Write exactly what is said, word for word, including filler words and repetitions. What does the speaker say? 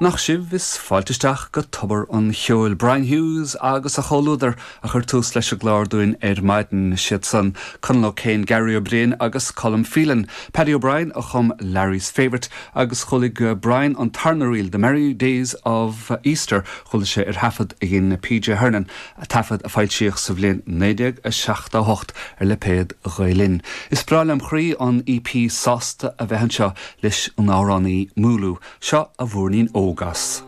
Nach sibh is fáilte isteach go tobar an cheoil Brian Hughes agus a chomhluadar a chuir tús leis an gclár dúinn ar maidin siad san Conall O'Kane Gary O'Brien agus Colm Phelan. Paddy O'Brien a chum Larry's Favourite agus chuala Brian an tarna ríl The Merry Days of Easter chuala sé ar thaifead a dhein PJ Hernan a taifead a foilsíodh sa bhliain naoi déag a seachtó a hocht ar lipéad Ghael Linn. Is breá lem chroí an EP sásta a bheith anseo leis an amhránaí Múlú seo a mhúirnín óg as.